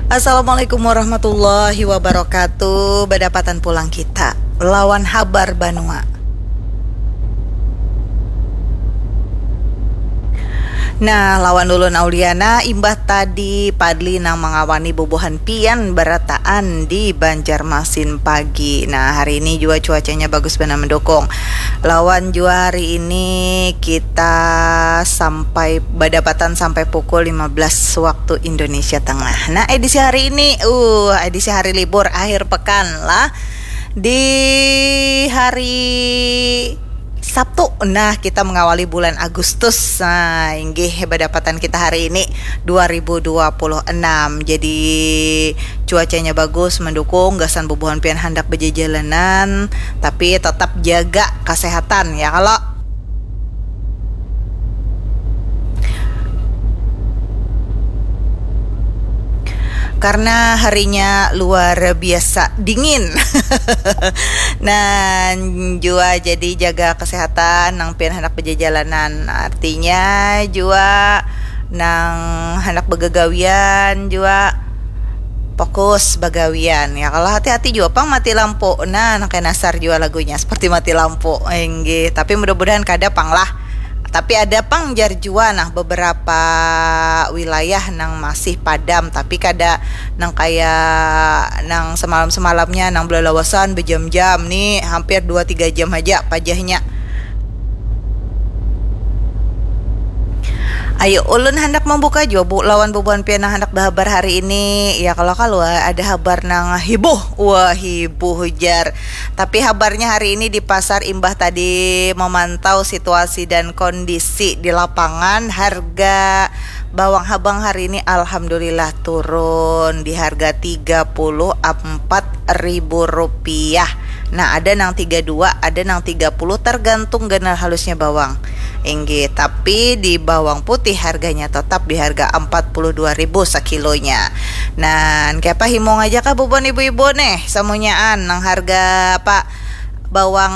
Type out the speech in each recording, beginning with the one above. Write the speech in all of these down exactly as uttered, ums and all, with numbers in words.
Assalamualaikum warahmatullahi wabarakatuh. Badapatan pulang kita lawan habar banua. Nah, lawan ulun Auliana, imbah tadi Padli nang mangawani bubuhan pian barataan di Banjarmasin pagi. Nah, hari ini jua cuacanya bagus banar mendukung. Lawan jua hari ini kita sampai badapatan sampai pukul lima belas waktu Indonesia Tengah. Nah, edisi hari ini, uh, edisi hari libur akhir pekan lah. Di hari Sabtu, nah, kita mengawali bulan Agustus. Nah, inggih badapatan kita hari ini dua ribu dua puluh enam. Jadi cuacanya bagus, mendukung, gasan bubuhan pian handak bejejalanan, tapi tetap jaga kesehatan ya kalau. Karena harinya luar biasa dingin. Nah, jua jadi jaga kesehatan nang pian handak bejejalanan. Artinya jua nang handak begagawian jua fokus bagawian ya. Kalau hati-hati jua pang mati lampu. Nah, nang kaya nasar jua lagunya seperti mati lampu. Inggih, tapi mudah-mudahan kada pang lah. Tapi ada pang jar jua nah beberapa wilayah nang masih padam, tapi kada nang kaya nang semalam-semalamnya nang belalawasan bejam-jam nih, hampir dua tiga jam aja pajahnya. Ayo, ulun handak membuka jua bu lawan bubuhan pian nang handak bahabar hari ini. Ya kalau kalau ada habar nang hibuh, wah hibuh jar. Tapi habarnya hari ini di pasar imbah tadi memantau situasi dan kondisi di lapangan, harga bawang habang hari ini alhamdulillah turun di harga tiga puluh empat ribu rupiah. Nah, ada nang tiga dua, ada nang tiga puluh, tergantung ganal halusnya bawang. Inggih, tapi di bawang putih harganya tetap di harga empat puluh dua ribu sekilonya. Nah, kaya apa himung aja kah bubuhan ibu-ibu nih, samunyaan nang harga apa bawang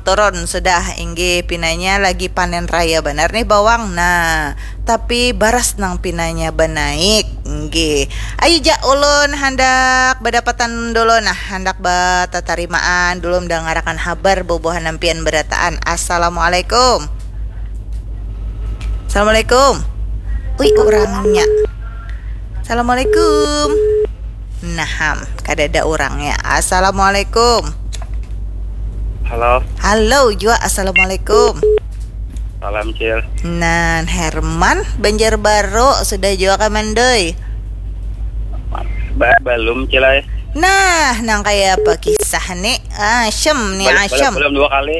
turun sudah, inggih, pinanya lagi panen raya banar nih bawang. Nah, tapi baras nang pinanya banaik, inggih. Ayu ja ulun handak badapatan dulu, nah, handak batatarimaan dulu mendangarakan habar bubuhan nampian berataan. Assalamualaikum. Assalamualaikum. Ui, urangnya. Assalamualaikum. Nah, ham, kadada urangnya. Assalamualaikum. Halo. Halo jua, assalamualaikum. Salam, Cil. Nan, Herman, Banjarbaru, sudah jua ka mandoi? Ba-, balum, Cil, ai. Nah, nang kaya apa kisah ni? Asem ni, bal-, asem. Balum, balum dua kali.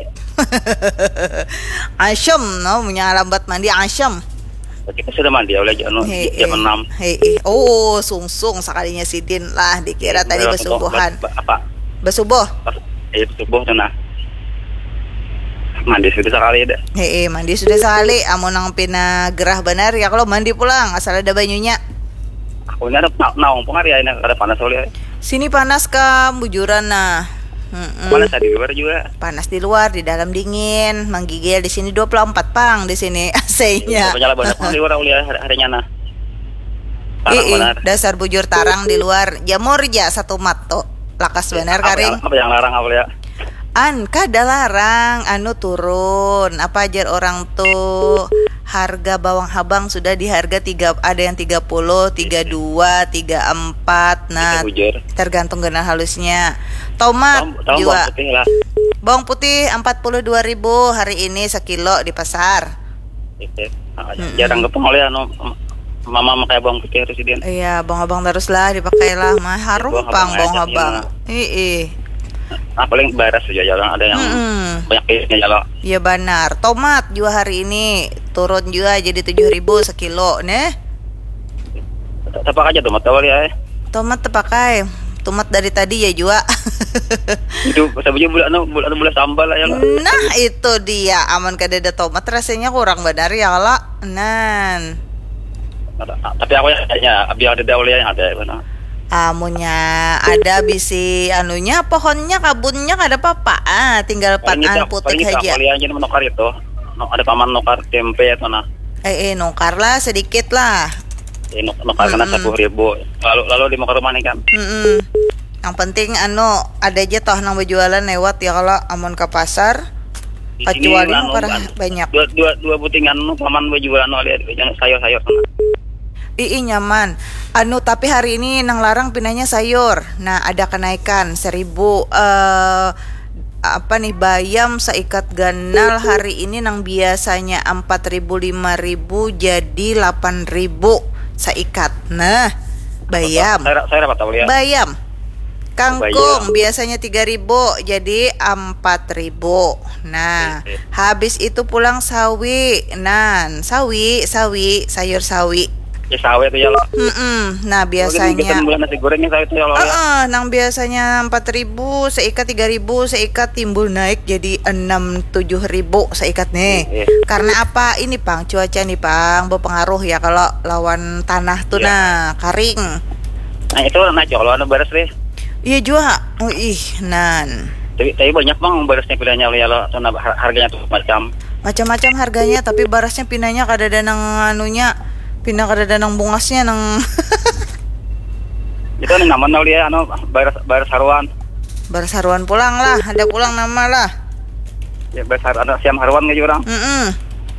Asem, no, punya lambat mandi, asem. Kita sudah mandi oleh anu, hei, jam eh, enam. Hei, eh. Oh, sungsung sakalinya sidin lah, dikira tadi basubuhan. Ba-, ba-, apa? Basubuh. Pas, eh, subuh tu nah. Mandi sudah sekali dah. Hei, eh, mandi sudah sekali. Amun nang pina gerah banar ya kalau mandi pulang, asal ada banyunya. Aku ni ada na-, naung pun hari ini kada panas oleh. Sini panas kam, bujuran nah. Mm-mm. Panas di luar juga. Panas di luar, di dalam dingin, menggigil di sini dua puluh empat pang di sini A C-nya. Banyak lah banyak pang di luar kuliah hari-, harinya nah. Tarang. Ih, ih, benar. Dasar bujur tarang di luar. Jamur ja satu mat tu. Lakas benar apa karing. Yang, apa yang larang apa ya? An, kada larang, anu turun. Apa ajar orang tu? Harga bawang habang sudah di harga tiga, ada yang tiga puluh, tiga dua, tiga empat. Nah, tergantung ganal halusnya. Tomat. Tahu, tahu juga. Bawang putih lah. Bawang putih empat puluh dua ribu hari ini sekilo di pasar. Iya. Nah, mm-mm. Jarang ketemu oleh anu, mama pakai bawang putih harus sidin. Iya, bawang habang terus lah dipakai lah. Mah harum bawang pang habang bawang habang. Iya. Nah, paling baras saja, jarang ada yang mm-mm. Banyak kayaknya kalau. Iya banar. Tomat juga hari ini turun juga jadi tujuh ribu sekilo nih. Tapak aja tomat awal ya. Tomat tapakai. Tomat dari tadi ya jua. Itu sabunya bula anu, bula anu, bula sambal lah ya lah. Nah, itu dia. Amun kada ada tomat rasanya kurang benar ya lah. Nan. Tapi aku ya, ya, biar ada daun yang ada, mana? Amunnya ada bisi anunya, pohonnya, kabunnya, kada apa-apa. Ah, tinggal paling kita, paling putik kita aja. Paling aja menukar itu. No, ada paman nukar tempe atau nah. Eh, eh, nukar lah sedikit lah. Ini nukar kena Mm-mm. Sepuluh ribu. Lalu lalu di muka rumah nih kan. Mm-mm. Yang penting anu ada aja toh nang berjualan lewat ya kalau amun ke pasar. Di sini Kecuali anu, nukar kan, banyak. Dua dua dua butingan nu paman berjualan oleh yang sayur-sayur sana. Ii nyaman. Anu tapi hari ini nang larang pinanya sayur. Nah ada kenaikan seribu eh apa nih bayam seikat ganal hari ini nang biasanya empat ribu lima ribu jadi delapan ribu seikat. Nah, bayam. Saya saya dapat tahu ya. Bayam. Kangkung Bayam. Biasanya tiga ribu jadi empat ribu. Nah, Iya. Habis itu pulang sawi. Nan, sawi, sawi, sayur sawi. Ya sawi itu ya lo. Mm-mm. Nah, Mungkin bikin biasanya bulan nasi goreng ya sawi itu ya lo ya. Heeh, nang biasanya empat ribu seikat tiga ribu seikat timbul naik jadi enam tujuh ribu seikat nih. Iya. Karena apa ini pang cuaca nih pang berpengaruh ya kalau lawan tanah tuh Iya. Nah karing. Nah itu nah kalau anu baras deh. Iya juga. Oh ih nan. Tapi tapi banyak bang barasnya pilihannya oleh ya lo. Tuh, nah, har- harganya tuh macam. Macam-macam harganya tapi barasnya pinanya kada ada nang anunya. Pindah kada ada nang bungasnya nang Itu nih naman oleh ya anu baras baras haruan. Baras haruan pulang lah, ada pulang nama lah. Ya baras har anu siam haruan gitu orang. Mm-mm.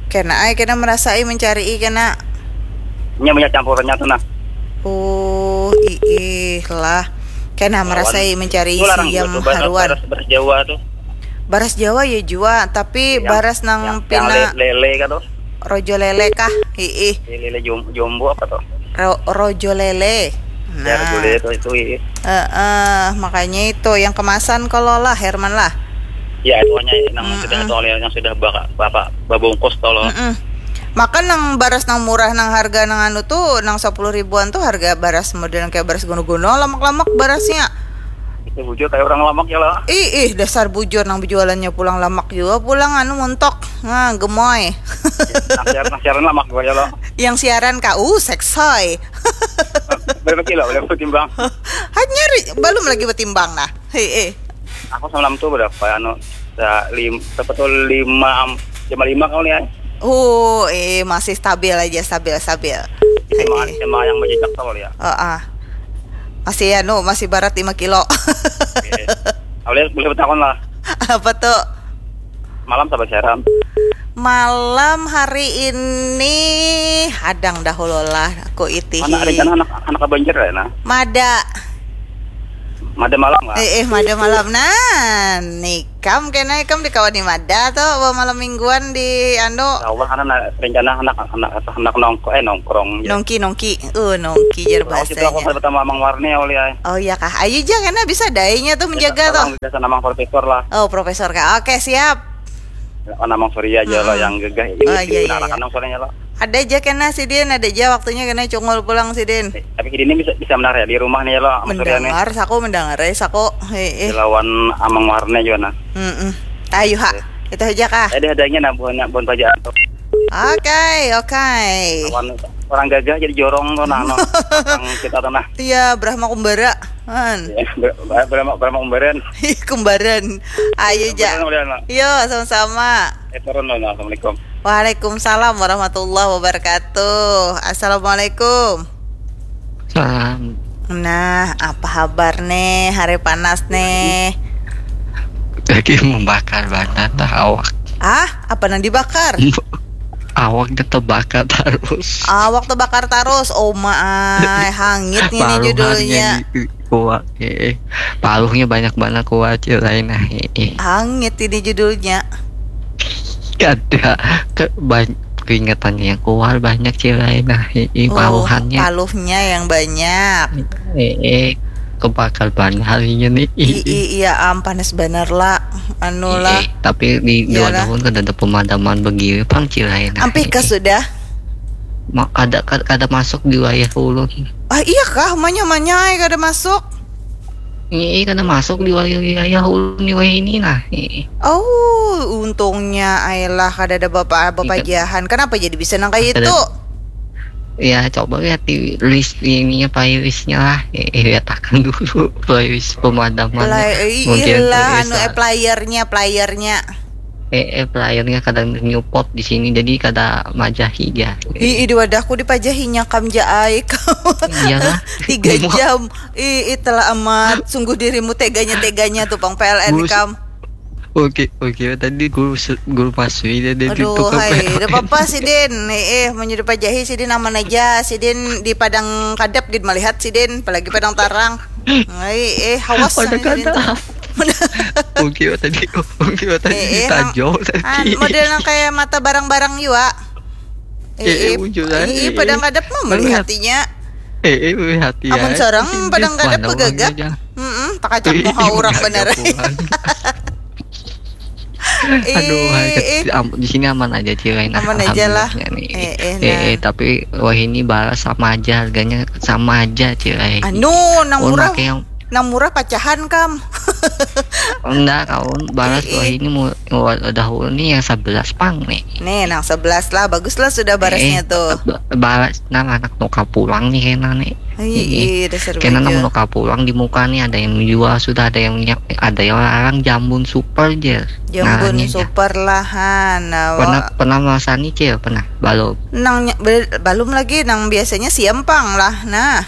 Kena ai kena merasai mencari kena. Nya banyak campurannya tuh nah. Oh, iih lah. Kena merasai mencari Itu larang siam juga tuh baras, haruan. Baras, baras Jawa tuh. Baras Jawa ya jua, tapi Yang- baras nang yang, pina yang le- lele kan tuh. Rojo lele kah? Iih. Lele jom- jombo apa tuh? Ro- rojo lele. Ya rojo Nah. lele itu itu iya. Heeh, makanya itu yang kemasan kalau lah Herman lah. Ya itu hanya yang Mm-mm. sudah tuh oleh yang sudah baka- bapak babungkus tuh loh. Mm-mm. Maka nang baras nang murah nang harga nang anu tuh nang sepuluh ribuan tuh harga baras model kayak baras gono-gono lamak-lamak barasnya. Itu bujur kayak orang lamak ya lah. Ih, ih, dasar bujur nang berjualannya pulang lamak juga pulang anu montok. Nah, gemoy. Nang siaran, nang siaran lamak gue ya lo. Yang siaran kak, uh, seksoy. Berapa kilo? Berapa timbang? Hanya ri- belum lagi bertimbang nah. Hei, eh. Aku semalam tuh berapa anu sa- lim, berapa tuh lima am- lima lima kali ya. Uh, eh masih stabil aja, stabil, stabil. Lima Hei. lima yang berjejak tuh ya. Oh, ah. Masih anu, masih barat lima kilo. Oke. Boleh boleh bertakon lah. Apa tuh? Malam sabar siaran. Malam hari ini hadang dahulu lah aku itihi. Mana ada kan anak anak banjir ya nah. Mada. Mada malam lah. Eh, eh mada malam nah. Nikam kena ikam dikawani mada tuh bawa malam mingguan di anu Awal karena na- rencana anak anak anak nongko eh nongkrong ya. Nongki nongki. Uh, nongki jar Kalau kita aku bahasanya. Pertama Amang Warni oleh ya. Oh iya kah? Ayu ja kena bisa dainya tuh menjaga tuh. Biasa nama profesor lah. Oh, profesor kah? Oke, siap. Kan Amang Surya aja Mm-mm. lah yang gagah ini Oh, iya, iya, menarikkan iya. Amang Suryanya lo. Ada aja kena sidin, ada aja waktunya kena cungul pulang sidin. Tapi kini bisa bisa menari ya di rumah nih lo Amang Surya nih. Mendengar saku, mendengar eh, saku. Hei, eh. Dilawan Amang Warni juga nah. Mm-mm. Ayo ha. Itu aja kah? Jadi adanya nah buahnya buah pajaan tuh. Oke, oke. Lawan orang gagah jadi jorong tuh nah no. Orang kita tuh nah. Iya, Brahma Kumbara. Han. Ya, ber- ber- berapa berapa umbaran? Kembaran. Ayo ja. Umbaran udah no. Yo, sama-sama. Eh turun lo. Assalamualaikum. Waalaikumsalam warahmatullahi wabarakatuh. Assalamualaikum. Salam. Nah, apa kabar nih? Hari panas nih. Lagi membakar banar dah awak. Ah, apa nang dibakar? Awak dia terbakar terus. Awak terbakar terus. Oh my, hangit ini Paruhannya judulnya. Kuat. Eh, paruhnya banyak banget kuat ya lain nah. Eh, Hangit ini judulnya. Ada ke banyak keingetannya yang kuat banyak sih lain nah. Eh, Oh, paruhannya. Paluhnya yang banyak. Eh, eh, kebakar banget harinya nih. I, i- iya am panas bener lah. Anu lah. Eh, tapi di dua Iyalah. tahun kan ada pemadaman begini pang sih lain nah. Ampih kah sudah? Ma- kada kada kada masuk di wilayah ulun. Ah iya kah? Manya manya ai kada masuk. Ini kada masuk di wilayah ulun di wilayah ini nah. Ini. Oh, untungnya ailah kada ada bapak bapak Iya. Jahan. Kenapa jadi bisa nang kayak Kada- itu? Ya coba lihat di list ininya playlistnya lah. Eh, lihat akan dulu playlist pemadaman. Play, Mungkin iyalah playlist anu lah. Eh, playernya playernya. eh, eh pelayannya kadang nyupot di sini, jadi kada majahi dia. Ih, di wadahku dipajahinya kam ja ai. Iyalah. Tiga jam. Ih, ih, telah amat. Sungguh dirimu teganya-teganya tuh pang P L N kam. Oke, oke. Tadi guru guru pasui dia dia Aduh, hai, udah apa-apa sidin. Eh, eh, menyuruh pajahi sidin aman aja. Sidin di padang kadap gid melihat sidin, apalagi padang tarang. Hai, eh, hawas. Padang kadap. Mungkin tadi, mungkin tadi eh, eh, tajau tadi. Model yang kayak mata barang-barang juga. Eh, eh, muncul lagi. Iya, padang kadap mah melihat hatinya. Eh, eh, melihat ya. Amun seorang padang kadap begagap. Heeh, takacak muha orang benar. Aduh, hai, eh, di sini aman aja sih lain. Aman aja lah. Eh, eh, eh, eh, tapi wah ini balas sama aja harganya sama aja sih lain. Anu, nang murah. Nang murah pacahan kam. Enggak, kawan balas wah ini mau dahulu nih yang sebelas pang nih. Nih, nang sebelas lah, bagus lah sudah barasnya eh, tuh. Balas, nah anak nuka pulang nih kena nih. Iya, dasar kena nang nuka pulang di muka nih ada yang jual sudah ada yang ada yang larang jambun super je. Jambun super lah han. Pernah pernah merasani cil pernah balum. Nang balum lagi nang biasanya siam pang lah nah.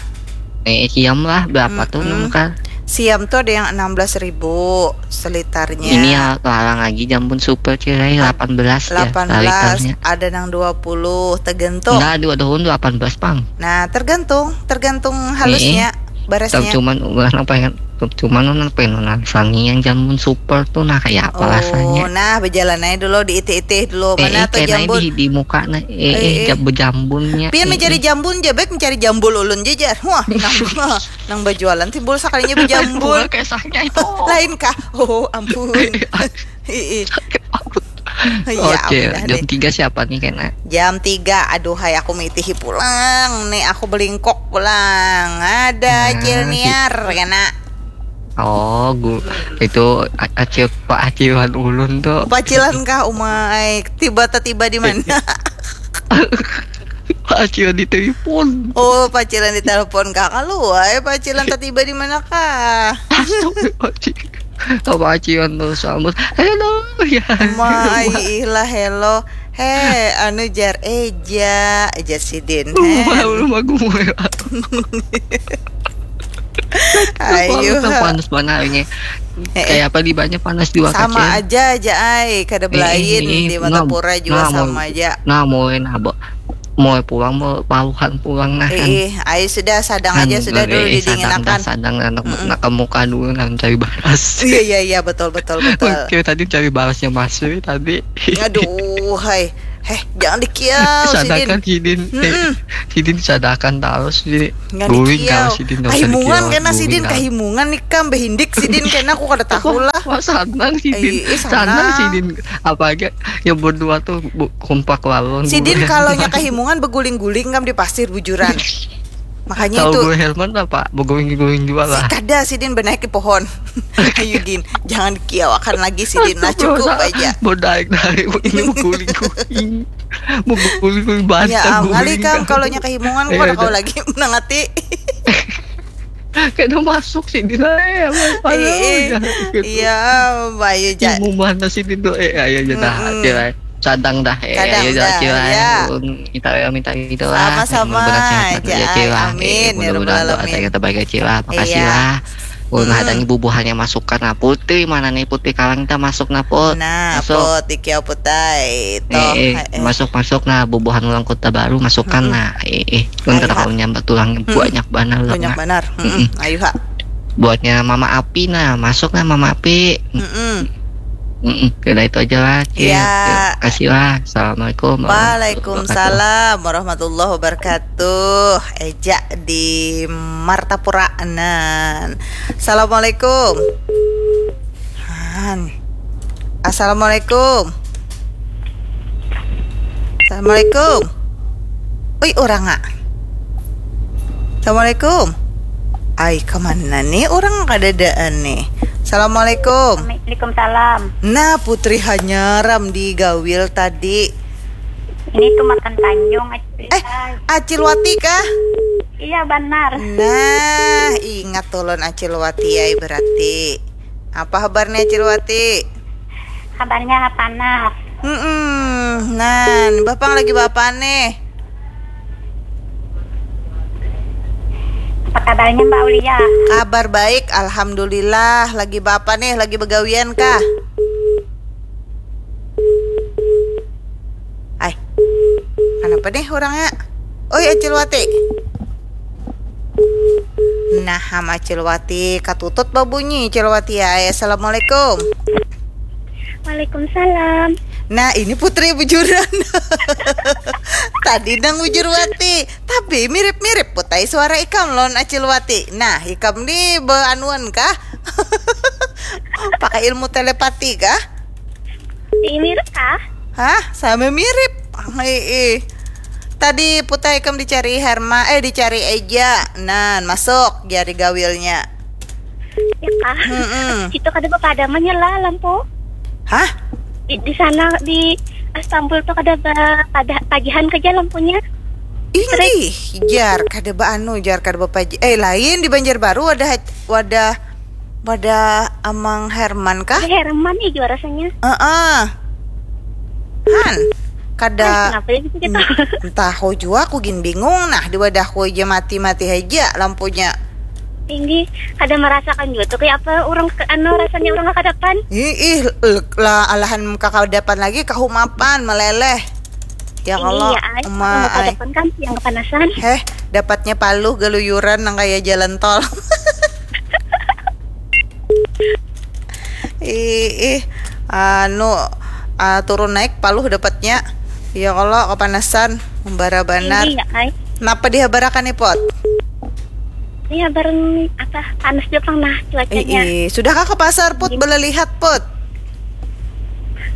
Eh, siam lah berapa mm -mm. tuh nang kal? Siam tuh ada yang enam belas ribu selitarnya. Ini ya larang lagi jambun super cil delapan belas ya. Delapan belas ada nang dua puluh tergantung. Enggak dua tahun delapan belas pang. Nah tergantung tergantung halusnya. Barasnya. Cuman orang pengen cuman orang pengen nang sangi yang jambun super tuh nah kayak apa oh, rasanya. Nah berjalan aja dulu di itih-itih dulu. Mana eh, tuh jambun? Di, di muka nah eh, eh, eh. Bejambunnya. Pian mencari jambun ja baik mencari jambul ulun ja jar. Wah, nang nang berjualan timbul sakalinya berjambul. Kayak sahnya itu. Lain kah? Oh, ampun. Ih, ih. Ya, Oke, jam tiga siapa nih kena? Jam tiga, aduh hai aku mitihi pulang nih aku belingkok pulang ada nah, Cilniar kena. Oh, gu, itu acil Pak Acilan ulun tuh. Pacilan kah umai? Tiba tiba di mana? Pacilan di telepon. Oh, pacilan di telepon kah? Kalau wae pacilan tiba di mana kah? Apa acian tuh sambut? Hello ya. Mai ilah hello. He, anu jar eja, eja sidin. He. Belum aku mulai. Ayo. Panas banget ini. Eh, eh. Kayak apa di banyak panas di Wakacil. Sama aja aja ai, kada belain eh, eh, di Martapura juga nah, sama aja. Nah, mau nah, mau pulang mau paruhan pulang nah kan. Iya, ayo sudah sadang aja sudah dulu didinginakan. Sadang, sadang anak mm -mm. Nak muka dulu nah cari baras. Iya iya iya betul betul betul. Oke, tadi cari barasnya Mas Wi tadi. Aduh, hai. Heh, jangan dikiau sidin. Sadakan sidin. Mm -mm. Sidin sadakan terus sidin. Guring kalau sidin. Kahimungan kena sidin kahimungan nih kam behindik sidin kena aku kada tahu lah. Wah, sanang sidin. Sanang sidin. Apa aja yang berdua tuh kompak lawan. Sidin kalau nya kahimungan beguling-guling kam di pasir bujuran. Makanya itu. Tahu gue Herman apa? Beguling-guling juga lah. Kada sidin benaik di pohon. Ayo din, jangan dikiawakan lagi sidin lah cukup aja. Mau naik naik ini mau guling guling, mau guling guling banyak. Ya, kali kam kalau nya kehimungan kau kau lagi menangati. Kena masuk sih di sana ya. Iya, bayu jat. Mau mana sih di doa ya ya jat. Sadang dah eh. Sadang dah, ya. Minta ya minta gitu lah. Sama-sama. Ya, amin. Ya, mudah-mudahan doa saya terbaik ya, Cila. Makasih lah. Ulun hadangi bubuhannya masukkan nah putih mana nih putih kalang kita masuk nah put. Nah, masuk. Put, iki apa tai? Toh. Eh, eh, eh. Masuk masuk nah bubuhan ulang kota baru masukkan hmm. Nah. Eh, eh. Kan kata kau nyambat tulangnya hmm. Banyak banar. Banyak banar. Hmm. Ayo ha. Buatnya Mama Api nah, masuk nah Mama Api. Hmm. Mm-mm. Kira itu aja lah. Cil. Ya. Terima kasih lah. Assalamualaikum. Waalaikumsalam warahmatullahi wabarakatuh. Eja di Martapura nan. Assalamualaikum. Han. Assalamualaikum. Assalamualaikum. Ui, orang ah. Assalamualaikum. Ai, kemana nih orang kadadaan nih? Assalamualaikum. Waalaikumsalam. Nah, Putri Hanyaram di Gawil tadi. Ini tuh makan Tanjung, Acil. Eh, Acil Wati kah? Iya, benar. Nah, ingat tulun Acil Wati ya berarti. Apa kabarnya Acil Wati? Kabarnya panas. Hmm, nan, Bapang lagi bapa nih? Apa kabarnya Mbak Aulia? Kabar baik, alhamdulillah. Lagi bapa nih? Lagi begawian kah? Ay, kenapa nih orangnya? Oi, Acil Wati. Nah, sama Acil Wati katutut babunyi. Acil Wati ya. Assalamualaikum. Waalaikumsalam. Nah, ini Putri bujuran. Tadi nang bujur Wati, tapi mirip-mirip Putai suara ikam lawan Acil Wati. Nah, ikam ni beanuan kah? Pakai ilmu telepati kah? Ih, mirip kah? Hah? Sama mirip. Ih, ih. Tadi Putai ikam dicari Herma, eh, dicari Eja. Nan, masuk jari gawilnya. Ya kah? Mm-mm. Itu kada bapadamannya lah lampu. Hah? Di, di sana di Istanbul tuh kada ba, kada tagihan kerja lampunya. Inggih, jar kada baanu, jar kada bapaji. Eh, lain di Banjarbaru wadah wadah wadah Amang Herman kah? Ada Herman nih juara rasanya. Heeh. Han, kada Kenapa ya gitu? Entah, aku jua, aku gin bingung nah, di wadahku aja mati-mati aja lampunya. Tinggi, kada merasakan juga tuh kayak apa orang ke anu rasanya orang kakadapan. Ih, ih, lah alahan kakadapan lagi kahumapan meleleh. Ya Allah, Iya, ay, emak, ay. Kakadapan kan yang kepanasan. Heh, dapatnya paluh galuyuran nang kaya jalan tol. Ih, ih, anu, ah, turun naik paluh dapatnya. Ya Allah, kepanasan, membara banar. Tinggi ya, ay. Napa dihabarakan nih, Pot? Iya, bareng apa panas juga pang nah cuacanya. Ih, sudahkah ke pasar, Put? Belelihat, Put?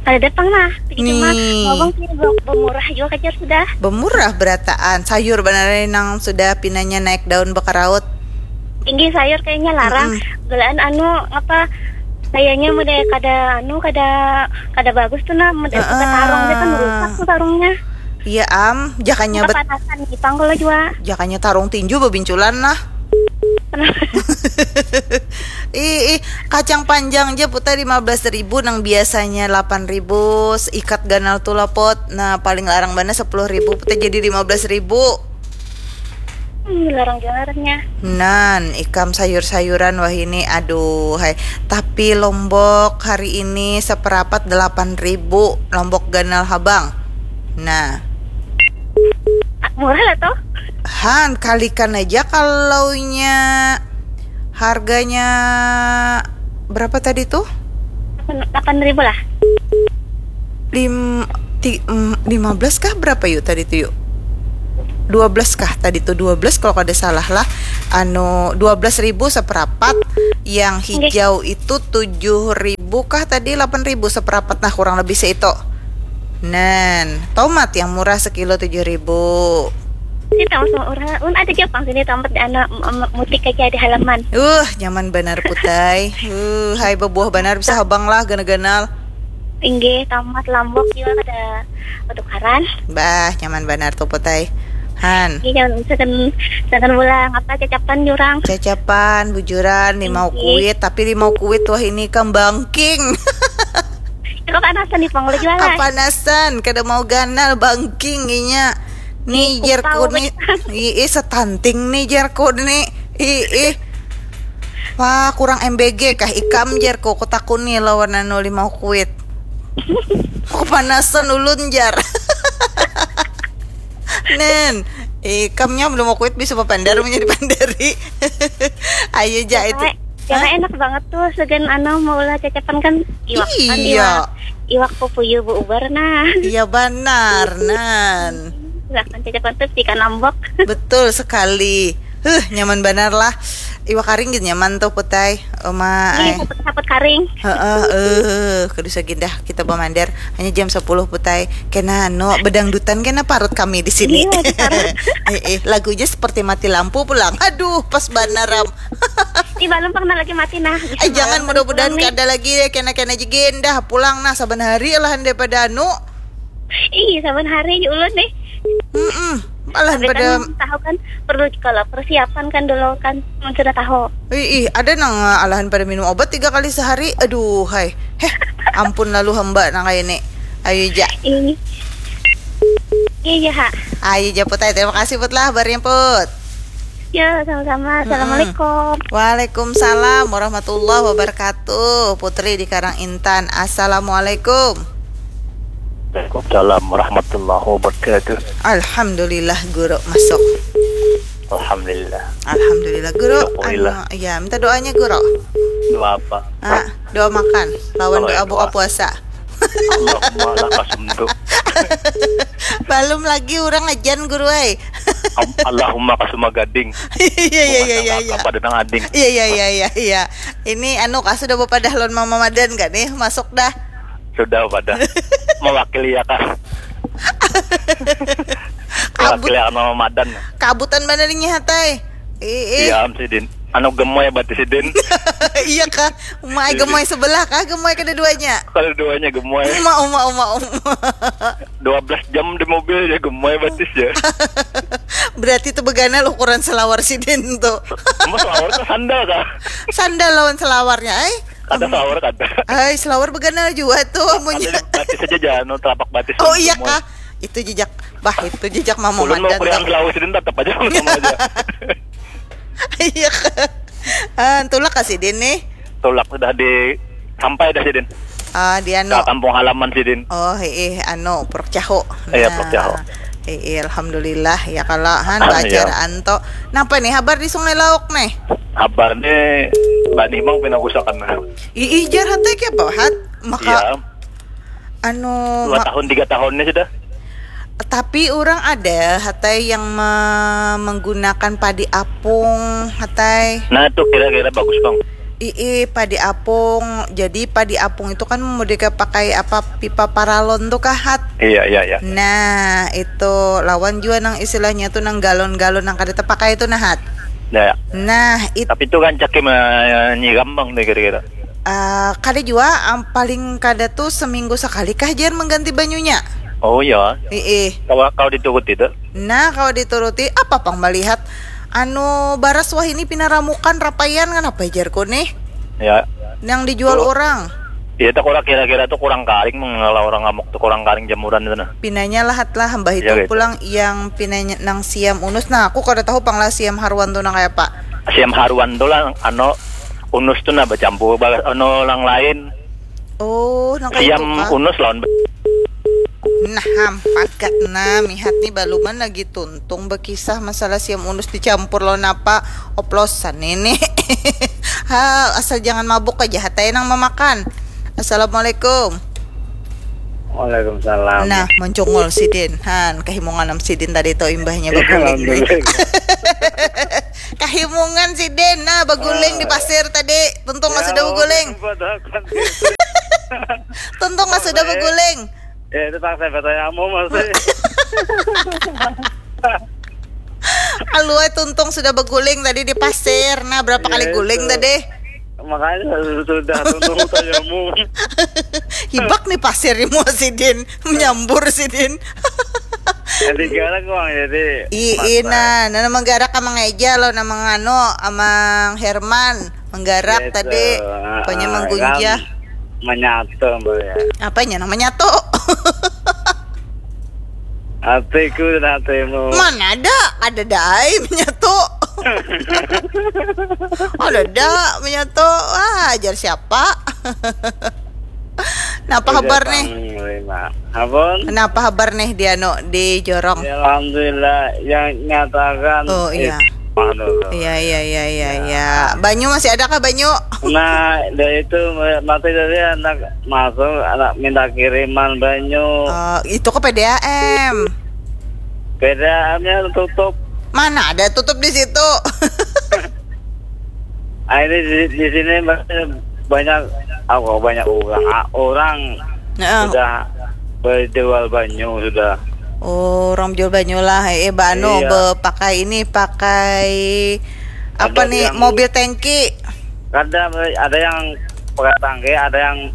Kada datang nah, tapi cuma Nih. Bawang sih be- bemurah juga kajar sudah. Bemurah berataan. Sayur banar nang sudah pinanya naik daun bakaraut. Tinggi sayur kayaknya larang. Gelaan anu apa kayaknya model kada anu kada kada bagus tuh nah model suka Heeh. Tarung dia kan rusak tuh tarungnya. Iya am, jakanya bet Kepanasan gitu kalau juga. Jakanya tarung tinju babinculan lah. Ih, ih, kacang panjang aja putar lima belas ribu nang biasanya delapan ribu, ikat ganal tuh lapot. Nah, paling larang bana sepuluh ribu putar jadi lima belas ribu. Hmm, larang juga ngarannya. Nan, ikam sayur-sayuran wah ini, aduh hai. Tapi lombok hari ini seperapat delapan ribu, lombok ganal habang. Nah, Ah, murah lah toh. Han, kalikan aja kalaunya harganya berapa tadi tuh? Delapan ribu lah. Lim, ti, em, lima belas kah berapa yuk tadi tuh yuk? Dua belas kah tadi tuh? Dua belas kalau kada salah lah. Anu, dua belas ribu seperapat, yang hijau itu tujuh ribu kah tadi, delapan ribu seperapat, nah kurang lebih seitu. Nen, tomat yang murah sekilo tujuh ribu. Ini tahu sama orang, un ada Jepang sini tomat di anak em, em, mutik aja di halaman. Uh, nyaman banar putai. Uh, hai, bebuah banar bisa habang lah ganal-ganal. Inggih, tomat lombok juga kada ketukaran. Bah, nyaman banar tuh putai. Han. Iya, jangan jangan jangan ulang apa cacapan jurang. Cacapan, bujuran, limau Tinggi. Kuit, tapi limau Kuit wah ini kembangking. Itu kepanasan di pangulu juga lah. Kepanasan, kada mau ganal, bangking inya. Nih, Ih, jerku kupau nih. Ih, ih, setanting nih, jerku nih. Ih, ih. Wah, kurang M B G kah ikam, jerku? Kutakuni lawan anu limau Kuit. Kepanasan ulun, jar. Nen, ikamnya belum mau Kuit bisa papandar menjadi pandari. Ayo ja itu. Karena, karena enak banget tuh segan anu maulah cacapan kan iwak kan Iya. Iwak, iwak pupuyu bu ubar nah. Iya banar, Nan. Bahkan cacapan tuh ikan lombok. Betul sekali. Huh, nyaman banar lah. Iwak karing gitu nyaman tuh putai. Oma Ini ai. Saput-saput karing. Heeh, eh, kada usah gindah kita bamandar. Hanya jam sepuluh putai. Kena anu bedangdutan kena parut kami di sini. Iya, di parut. Eh, eh, lagunya seperti mati lampu pulang. Aduh, pas banar am. Ih, balum pernah lagi mati nah. Eh, jangan, mudah-mudahan kada lagi ya, kena-kena aja gindah pulang nah saban hari lah daripada anu. Ih, saban hari aja ulun nih. Mm-mm. Alahan pada kan tahu kan perlu kalau persiapan kan dulu kan mun sudah tahu. Ih, ih, ada nang alahan pada minum obat tiga kali sehari. Aduh, hai. Heh, ampun lalu hamba nang kayak ini. Ayo ja. Ini. Iya, iya, ha. Ayo ja, Put, ai. Terima kasih, Put, lah, habarnya, Put. Ya, sama-sama. Mm-mm. Assalamualaikum. Waalaikumsalam warahmatullahi wabarakatuh. Putri di Karang Intan. Assalamualaikum. Waalaikumsalam warahmatullahi wabarakatuh. Alhamdulillah, Guru, masuk. Alhamdulillah. Alhamdulillah, Guru. Syukurillah. Anu, ya, minta doanya, Guru. Doa apa? Ah, doa makan. Lawan doa buka puasa. Allahumma laka sumtu. Balum lagi urang ajan, Guru ai. Am-, Allahumma kasuma gading. Iya, iya, iya, iya, iya. Pada nang ading. Iya, iya, iya, iya, iya. Ini anu kah, sudah bapadah lawan Mama Madan kah nih? Masuk dah. Sudah pada. Mewakili ya kah? Kabut. Mewakili ya Mama Madan. Kabutan banar ini, Hat ai. Ih, ih. Iya, am sidin. Anu gemoy batis sidin. Iya kah? Umai gemoy sebelah kah? Gemoy kada duanya? Kada duanya gemoy. Uma, uma, uma, uma. Dua belas jam di mobil ya gemoy batis ya. Berarti itu beganal ukuran selawar sidin tuh. Mas selawar ke sandal kah? Sandal lawan selawarnya, ai. Kada selawar kada. Ai, selawar beganal juga tuh amunnya. Batis saja jangan telapak batis. Oh iya kah? Itu jejak, bah, itu jejak Mama Madan tuh. Ulun mau kurian selawar sidin tetap aja sama aja. Iya kah? Ah, tulak kah sidin nih? Tulak sudah di sampai dah sidin. Ah, di anu. Ke kampung halaman sidin. Oh, heeh, anu, Puruk Cahu. Iya, Puruk Cahu. Nah, heeh, alhamdulillah ya kalau han bacaraan to. Napa nih habar di Sungai Lauk nih? Habar nih Mbak Nimang pina gusakan. Ih, jar Hat ai, kaya apa, Hat? Maka iya. Anu, dua tahun, tiga tahunnya sudah. Tapi urang ada, Hat ai, yang me-, menggunakan padi apung, Hat ai. Nah, itu kira-kira bagus, Bang. Ii, padi apung. Jadi, padi apung itu kan model kaya pakai apa, pipa paralon tuh kah, Hat? Iya, iya, iya. Nah, itu lawan jua nang istilahnya tuh nang galon-galon nang kada tepakai itu nah, Hat. Ya, ya. Nah, it- Tapi itu rancak menyiram, Bang, nih kira-kira. Ah, kada jua, am, paling kada tuh seminggu sekali kah jar mengganti banyunya. Oh iya. Ii. Kalau, kalau dituruti tuh. Nah, kalau dituruti, apa pang melihat anu baras wahini pina ramukan rapaian, kanapa jarku nih? Ya. Nang dijual orang. Iya, tak kurang kira-kira tuh kurang karing, mengelola orang ngamuk tuh kurang karing jamuran itu nah. Pinanya lahat lah, mbah itu pulang yang pinanya nang siam unus. Nah, aku kada tahu pang lah siam haruan tuh nang kaya apa. Siam haruan tuh lah, anu, unus tuh nah bacampur, ba-, anu, nang lain. Oh, nang kaya itu kah? Siam unus lawan ba- Nah, ham, pagat nah, mihat nih baluman lagi tuntung bekisah masalah siam unus dicampur lawan apa, oplosan ini. Ha, asal jangan mabuk aja, Hat ai nang mamakan. Assalamualaikum. Waalaikumsalam. Nah, mencungul sidin. Han, kahimungan am sidin tadi tu imbahnya baguling nih. Alhamdulillah. Kahimungan sidin. Nah, baguling di pasir tadi. Tuntung lah sudah baguling. Tuntung lah sudah baguling. Ya, itu tak saya bertanya kamu masih. Aluai tuntung sudah beguling tadi di pasir. Nah, berapa kali guling tadi? Makanya sudah tuntung tayamu. Hibak nih pasir di mua sidin, menyambur sidin. Jadi galak uang jadi. Ii, nah, nah, menggarak sama ngeja lo, nama ngano, amang Herman. Menggarak tadi, apanya menggunjah. Menyatu, Mbak, ya. Apanya nang menyatu? Hatiku dan hatimu. Mana ada? Ada dai menyatu. Ada da menyatu. Wah, ajar siapa? Napa habar nih? Napa habar nih di anu, di jorong? Ya, alhamdulillah, yang nyatakan. Oh, iya. Iya, iya, iya, iya, iya. Banyu masih ada kah banyu? Nah, dari itu mati dari anak masuk, anak minta kiriman banyu. Oh, itu ke P D A M. P D A M-nya tutup. Mana ada tutup di situ? Ah, ini di, di sini banyak, apa, banyak orang, ah, orang sudah berjual banyu sudah. Oh, orang jual banyu lah. Eh, ba anu, bepakai ini, pakai apa nih, mobil tangki. Ada, ada yang pakai tangki, ada yang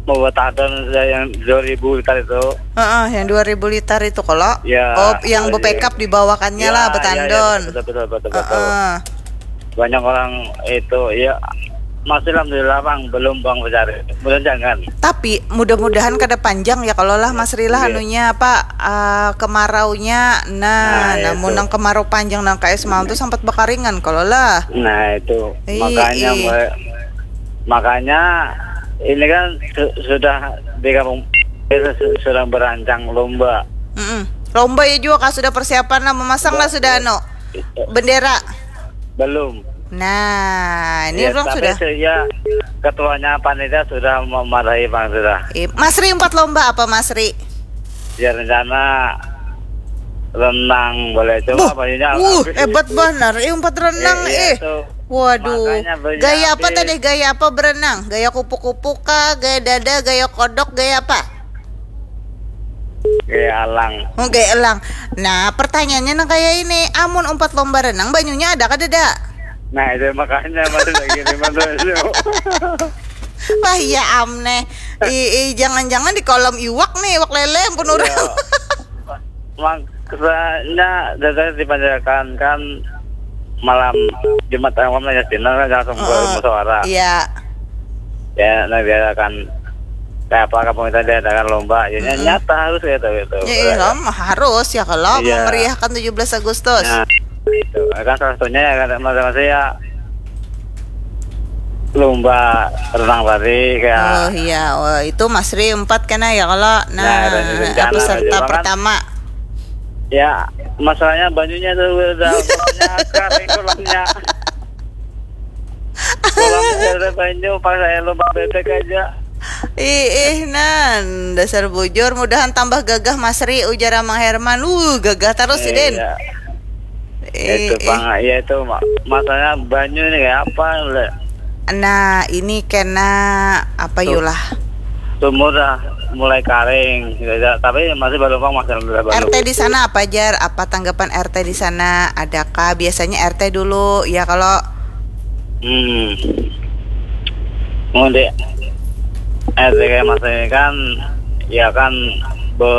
Mau betadon sudah yang dua ribu liter itu. Heeh, yang dua ribu liter itu kalau. Ya, Oh, yang iya. bepekap dibawakannya Ya, lah ya, ya, betandon. betul, betul, betul, betul. Heeh. Banyak orang itu, ya, masih alhamdulillah, Bang, belum, Bang, mencari. Belum, jangan. Tapi mudah-mudahan kada panjang ya kalau lah Mas Rila Iya. Anunya apa, eh, kemaraunya. Nah, Nah, namun itu. Nang kemarau panjang nang kayak semalam tuh sempat bekaringan kalau lah. Nah, itu. Iya, Makanya iya. mulai- makanya ini kan su- sudah di kampung itu su- sudah berancang lomba. Mm-mm. Lomba ya juga kah sudah persiapan lah, memasang lah sudah anu, bendera. Belum. Nah, ini Ya, orang tapi sudah. se- ya, ketuanya panitia sudah memarahi, Bang, sudah. Eh, Mas Ri, empat lomba apa, Mas Ri? Ya, rencana renang boleh coba. Buh, Banyunya uh, habis. Hebat banar, eh, empat renang, Eh, iya, eh. tuh. Waduh, Makanya banyak gaya apa habis. Tadi? Gaya apa berenang? Gaya kupu-kupu kah? Gaya dada? Gaya kodok? Gaya apa? Gaya alang. Oh, gaya elang. Nah, pertanyaannya nang kayak ini, amun umpat lomba renang, banyunya ada kada ada? Nah, itu makanya masih lagi di mana itu. Wah, iya am neh. I, i, jangan-jangan di kolam iwak nih, iwak lele pun orang. Ya. Maksudnya, dari dipanjarakan kan malam Jumat, malam ya, Cina kan langsung Heeh. Musyawarah. Iya. Ya, nah, biarkan kayak apa kampung kita diadakan lomba, ya, Mm-mm. nyata harus gitu, gitu. Ya, iya, harus ya kalau Iya. memeriahkan tujuh belas Agustus. Nah, itu kan salah satunya ya, kan, masing-masing ya, lomba renang tadi kayak. Oh iya, oh, itu Mas Ri empat kena ya kalau nah, Nah, ada rencana peserta juga kan. Pertama. Ya, masalahnya banyunya tuh udah kolamnya kering kolamnya. Kolamnya ada banyu, pas saya lomba bebek aja. Ih, ih, nan dasar bujur, mudahan tambah gagah Mas Ri, ujar Amang Herman. Uh, gagah terus sih, Den. Iya. Ih, Itu ih. Bang, ya itu ma- masalahnya banyu ini kayak apa le? Nah, ini kena apa Tuh. Yulah? Sumur dah mulai kering, gitu aja. Tapi masih balumpang, masih alhamdulillah balumpang. R T di sana apa, Jar? Apa tanggapan R T di sana? Adakah biasanya R T dulu ya kalau Hmm. Mau di R T kayak Mas ini kan, ya kan, be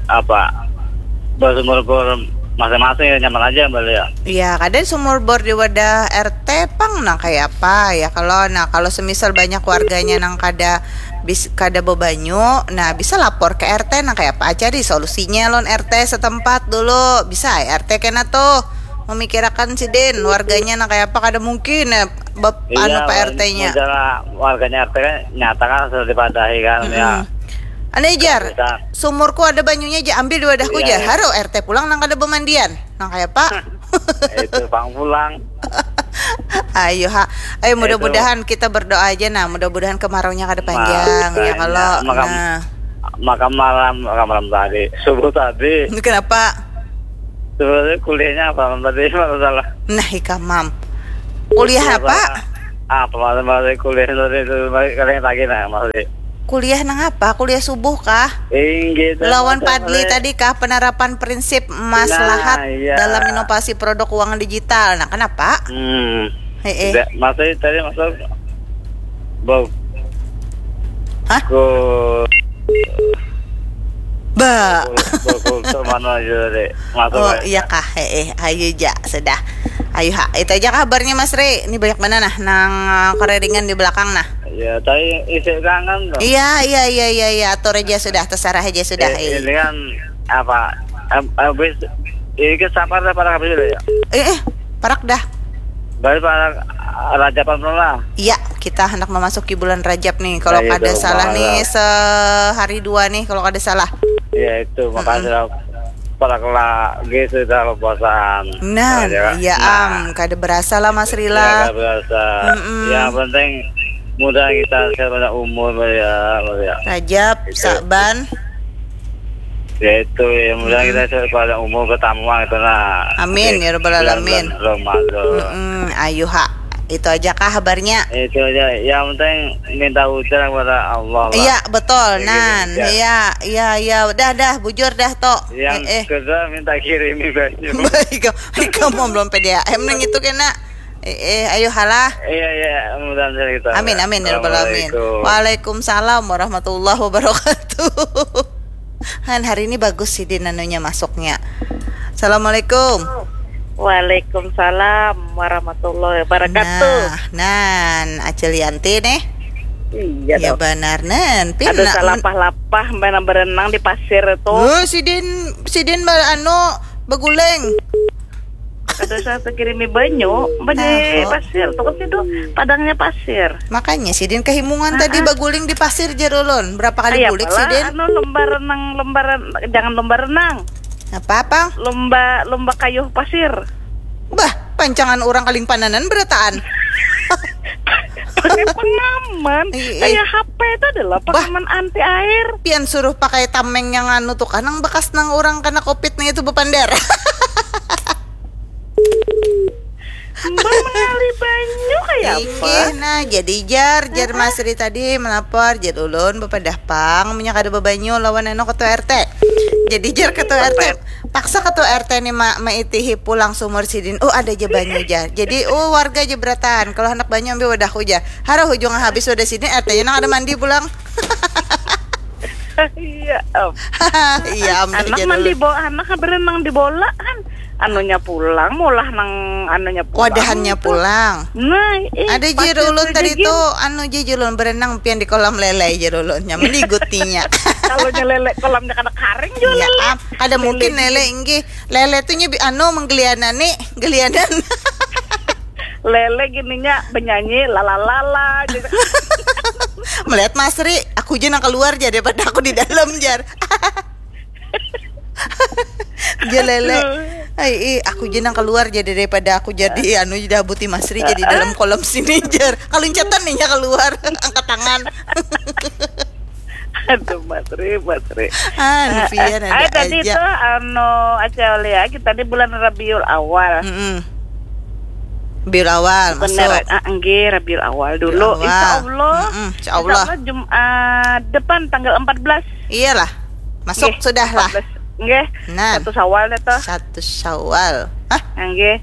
apa, bersumur-sumur masing-masing ya, nyaman aja balik ya. Iya, kada sumur bor di wadah R T pang nang kayak apa ya kalau, nah, kalau semisal banyak warganya nang kada bis kada bebanyu, nah, bisa lapor ke R T nang kayak apa, cari solusinya lawan R T setempat dulu, bisa R T kena tuh memikirakan sidin warganya nang kayak apa, kada mungkin ya, bep- anu Pak R T-nya. Iya, masalah warganya R T kan nyata kan sudah dipadahi kan ya. Ane, Jar, Bisa. Sumurku ada banyunya aja, ambil di wadahku, Iya, Jar. Iya. Haro R T pulang nang kada bemandian. Nang kayak apa? Itu pang pulang. Ayo ha, ayo mudah-mudahan kita berdoa aja nah, mudah-mudahan kemaraunya kada panjang ya kalau. Makanya, maka, Nah, maka malam, maka malam tadi, subuh tadi, kenapa? Sebenarnya kuliahnya apa malam tadi? Malam salah. Nah, ikam, Mam. Kuliah apa? Apa malam tadi kuliah tadi itu? Kalian lagi nah, masih. Kuliah nang apa? Kuliah subuh kah? Inggih, Lawan macam Padli tadi. Tadi kah, penerapan prinsip maslahat Nah, iya. Dalam inovasi produk keuangan digital. Nah, kenapa? Hmm. Heeh. Tidak, maksudnya tadi masuk bau. Hah? Ku Ba. Berkultur mana aja deh. Masuk Oh, aja. Iya kah? Heeh, ayo ja sudah. Ayo ha, itu aja kabarnya Mas Re. Ini banyak mana nah nang, eh, kereringan di belakang nah. Ya, tapi isi kangen tuh. Iya, iya, iya, iya, iya, atur aja sudah, terserah aja sudah. Eh, Eh. Ini kan apa? Em- Habis ini kan sabar dah para habis ya. Eh, eh, parak dah. Balik para Rajapan dulu lah. Iya, kita hendak memasuki bulan Rajab nih. Kalau Nah, kada itu, salah Bang. Nih sehari dua nih kalau kada salah. Ya itu, makanya para lagi sudah puasaan. Nah, Ya, iya nah. Am, kada berasa lah Mas Ya, Rila. nggak berasa. Mm-mm. Yang penting mudah kita sekarang banyak umur ya, ya. Rajab, Itu. Saban. Ya itu ya, mudah Mm-mm. Kita sekarang banyak umur, ketamuan itu nah. Amin, Oke. ya Rabbal Bulan-bulan Alamin. Ramadan. Mm-mm, ayo ha. Itu aja kah kabarnya? Itu aja. Yang penting minta hujan kepada Allah lah. Iya, betul. Ya, gitu, Nan, ya. Iya, iya, iya. Udah, dah, bujur dah, Tok. Yang Eh, eh. Kedua minta kirimi banyu. Ikam, ikam mau belum P D A M nang itu kena. Eh, eh, ayo halah. Iya, iya, mudah-mudahan kita. Amin, amin, ya rabbal alamin. Assalamualaikum. Waalaikumsalam warahmatullahi wabarakatuh. Han, hari ini bagus sidin anunya masuknya. Assalamualaikum. Waalaikumsalam warahmatullahi wabarakatuh. Nah, nan Acil Yanti nih. Iya Ya dong. Banar nan. Pina Ada salapah-lapah main berenang di pasir itu. Oh, sidin sidin ba anu baguling. Ada saya kirimi banyu, mbak di Ah, oh. Pasir tuh kan situ padangnya pasir. Makanya sidin kehimungan Ah, tadi ah. Baguling di pasir jar ulun. Berapa kali Iya, bulik pala, sidin? Anu lomba renang, lomba ren- jangan lomba renang, Apa apa? Lomba lomba kayuh pasir. Bah, pancangan orang Kalimpananan berataan. Pakai pengaman. Iya, iya. Kayak H P itu adalah Bah. Pengaman anti air. Pian suruh pakai tameng yang anu tuh kan, nang bekas nang orang kena covid nih itu bepander. Mbak mengalir banyu kayak apa? Inggih, nah jadi jar, jar Mas Ri tadi melapor, jar ulun bepadah pang, punya kada bebanyu lawan anu ketua R T. Jadi jar ketua R T, paksa ketua R T nih ma maitihi pulang sumur sidin. Oh, ada aja banyu jar. Jadi oh, warga aja berataan. Kalau hendak banyu ambil wadahku jar. Harah ujung habis wadah sidin, R T-nya nang ada mandi pulang. Iya, Om. Iya, ambil Anak jar mandi ulun. Bola, anak berenang di bola kan. Anunya pulang, mulah nang anunya pulang. Wadahannya pulang. Nah, eh, Ada jar pasir ulun tuh tadi jadi tuh, anu jar ulun berenang pian di kolam lele jar ulun. Nyaman digutinya. Kalau nya lele kolamnya kada karing juga Iya, lele. am, kada mungkin lele inggih. Lele tuh nya bi- anu menggelianani, gelianan. Lele gininya benyanyi lalalala gitu. Melihat Mas Ri, aku aja nang keluar jar daripada aku di dalam jar. Jar lele. Ai, ih, aku aja nang keluar jar daripada aku jadi anu jadi buti Mas Ri jadi dalam kolam sini jar. Kalau incatan nih nya keluar, angkat tangan. Aduh, Mas Ri, Mas Ri. Ah, Lufian ada Ah, tadi aja. Itu anu Aca Aulia, kita di bulan Rabiul Awal. Mm-mm. Rabiul Awal Bener, masuk. Ah, enggih, Rabiul Awal dulu. Rabiul Awal. Insya Allah. Mm-mm, insya Allah. Jumat depan tanggal empat belas. Iyalah. Masuk Nggih, sudah lah. empat belas. Nggih. Nah. Satu Syawal deh toh. Satu Syawal. Hah? Nggih.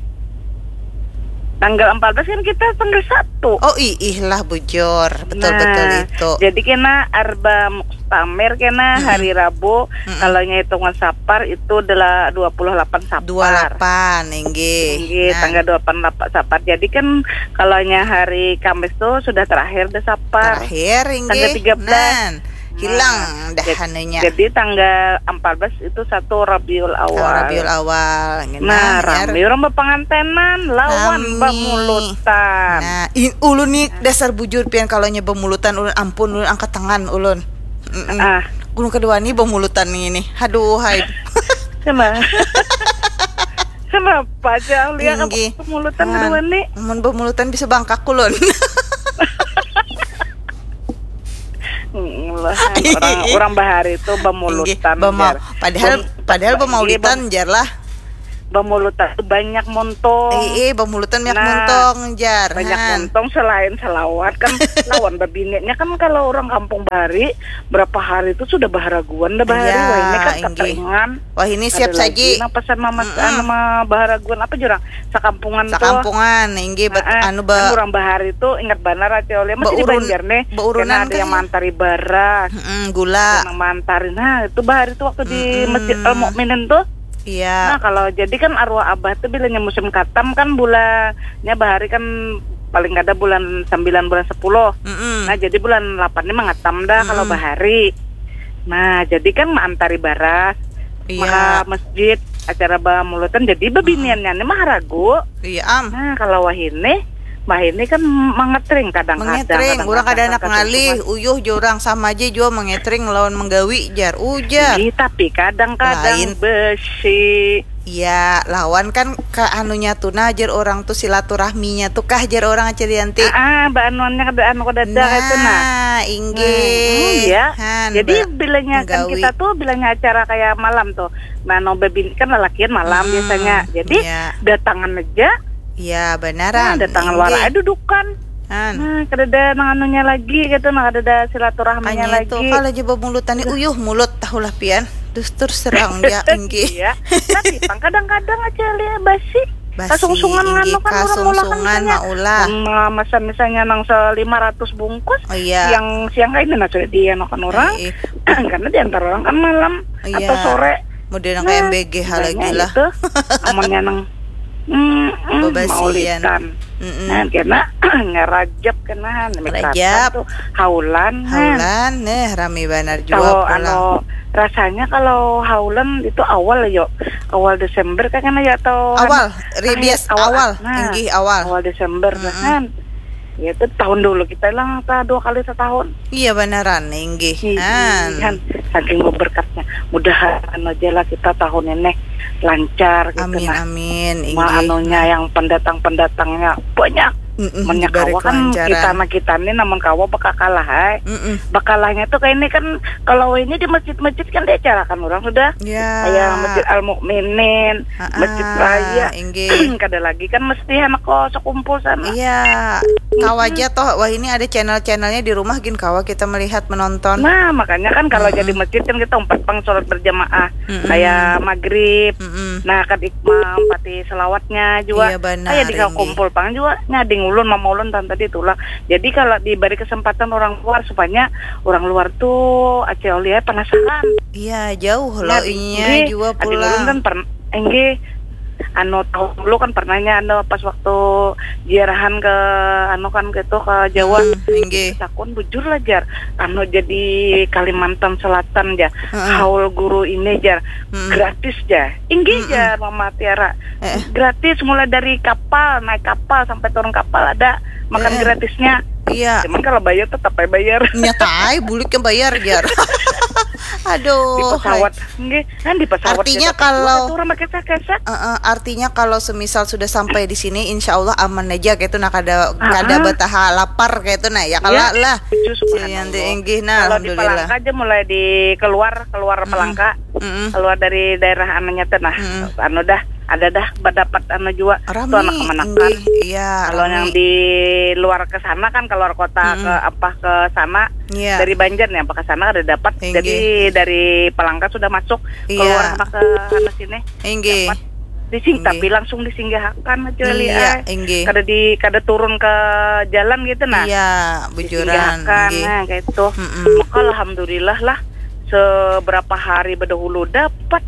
Tanggal empat belas kan kita tanggal satu. Oh, ih, ih lah bujur. Betul Nah, betul itu. Jadi kena arba muktamir kena Mm-mm. Hari Rabu. Mm-mm. Kalau nya hitungan Sapar itu adalah dua puluh delapan Sapar. Dua lapan inggih. Nggih, Nah, tanggal dua puluh delapan Sapar. Jadi kan kalau nya hari Kamis tuh sudah terakhir deh Sapar. Terakhir inggih. Tanggal tiga belas. Nan, hilang Nah, dah jad- anunya. Jadi tanggal empat belas itu satu Rabiul Awal. Rabiul Awal. Nah, Jar. Rame orang berpengantenan lawan Rame. bamulutan. Nah, in, ulun nih dasar bujur pian kalau nya bamulutan ulun ampun ulun angkat tangan ulun. Mm-mm. Ah. Ulun kada wani bamulutan ini. Aduh hai. Kenapa? Kenapa aja lihat Inggih. Bamulutan Han, kedua nih? Mun bamulutan bisa bangkak ulun. Hmm, lah, orang orang bahari itu bamulutan. Inggih, bama- Jar. padahal Bam- padahal bam- bamaulitan bam- jar lah. Bamulutan tuh banyak montong. Eh, eh, bamulutan banyak Nah, montong jar. Banyak Han. montong selain selawat kan lawan babininya kan kalau orang kampung bahari berapa hari itu sudah baharaguan dah bahari. Iya, Wah, ini kan inggih. Kateringan. Wah, ini siap Ada lagi saji. Nang pesan mama Mm-mm. anu ma baharaguan apa jurang? Sakampungan tuh. Sakampungan inggih bet Heeh. anu ba Kan orang bahari itu ingat banar Aca Aulia masih di Baurun- Banjar nih. baurunan Karena ada kah yang ya? Mantari baras. Mm-mm, gula. Yang mantari. Nah, itu bahari itu waktu di Mm-mm. Masjid Al Mukminin tuh. Nah, Iya. Kalau jadi kan arwah abah tuh bilanya musim katam kan bulannya bahari kan paling kada bulan sembilan bulan sepuluh. Mm-mm. Nah, jadi bulan delapan ini mengatam dah kalau Mm-mm. bahari. Nah, jadi kan mantari baras Iya. Maka masjid acara bamulutan jadi bebiniannya ini mah ragu. Iya am. Nah, kalau wahini, wahini kan mengetring kadang-kadang. Mengetring, orang kada anak ngalih, uyuh jurang sama aja jua mengetring lawan menggawi jar ujar. Ih, tapi kadang-kadang Lain. Besi. Iya, lawan kan ke anunya tuh nah jar orang tuh silaturahminya tuh kah jar orang Acil Yanti. Ah, ah, baanuannya kada anu kada ada itu nah. Nah, inggih. Hmm, iya. Han, Jadi ba- bilanya kan menggawi. Kita tuh bilanya acara kayak malam tuh. Nah, no baby kan lelakian malam Hmm, biasanya. Jadi iya. Datangan aja. Iya, Nah, banaran. datangan Inggih. Wara aduh dukan. Han. Nah, kada ada nang anunya lagi gitu, nah kada ada silaturahminya Makanya itu lagi. Kalau aja bamulutan nih, uyuh mulut tahulah pian. Dustur serang ya, inggih. Iya. Tapi pang kadang-kadang aja lihat basi. Kasungsungan nganu kan, urang maulah kan, misalnya, mama mesan misalnya nang se lima ratus bungkus, siang-siang kaini nah sudah dianukan urang, karena diantar urang kan malam atau sore. Model nang kaya M B G ha lagi lah. Amunnya nang, mm, mm, maulitan. Nah, kena ngarajap kena, rajap tu haulan. Haulan, eh, rami banar jua pulang. Anu, rasanya kalau haulan itu awal, yo. Awal Desember kan, ya, atau awal, ribias awal. Nah, inggih, awal. Awal Desember, kan. Ya, itu tahun dulu kita hilang ta dua kali setahun. Iya, banaran, inggih. Han, saking berberkatnya. Mudahan aja lah kita tahun ini lancar gitu. Amin, nah. Amin, inggih. Anunya, yang pendatang-pendatangnya banyak. Banyak kawa kan kita, nah, kita nih namun kawa bakakalah, hai. Bakalahnya tuh kayak ini kan, kalau ini di masjid-masjid kan diacarakan orang sudah. Ya. Kayak Masjid Al Mukminin, Masjid Raya. Kada lagi kan mesti anak ko sekumpul sana. Iya. Kawa aja toh, wah, ini ada channel-channelnya di rumah gin kawa kita melihat, menonton. Nah, makanya kan kalau jadi masjid kan kita umpat pang sholat berjamaah. Kayak maghrib. Nah, kan ikmam, pati selawatnya juga. Iya, banar, kayak di kumpul pang juga. Nyading ulun, mama ulun, tanta tadi tulah. Jadi kalau diberi kesempatan orang luar, supaya orang luar tuh Aceh Olia penasaran. Iya, jauh loh inya juga pulang. Ulun kan pernah, enggih, anu, tahun dulu kan pernahnya, anu, pas waktu ziarahan ke, anu, kan, gitu, ke Jawa. Sakun bujur lah, jar, anu, jadi Kalimantan Selatan, jar, haul guru ini, jar, gratis, jar. Inggih, jar Mama Tiara. Gratis, mulai dari kapal, naik kapal sampai turun kapal ada makan gratisnya. Iya. Cuman kalau bayar tetap aja bayar. Nyata ai, buliknya bayar, jar. Aduh. Di pesawat, nggih, kan di pesawat. Artinya kalau, eh, eh, artinya kalau semisal sudah sampai di sini, insya Allah aman aja gitu, nah, kada, kada bataha lapar gitu, nah, ya, kala lah. Puji, subhanallah. Inggih, nah, kalau di Palangka aja mulai di keluar, keluar Palangka, keluar dari daerah anunya tuh, nah, anu dah, ada dah, berdapat anu jua. Rami, tuh anak kemanakan. Iya, kalau yang di luar ke sana kan, keluar kota, ke apa, ke sana, dari Banjar nih, apa ke sana ada dapat. Jadi dari Palangka sudah masuk, keluar apa ke sana sini. Dapat. Dising-, tapi langsung disinggahakan aja, iya, ai. Kada di, kada turun ke jalan gitu, nah. Iya, bujuran, disinggahakan, nah, kayak itu. Maka alhamdulillah lah, seberapa hari bedahulu dapat.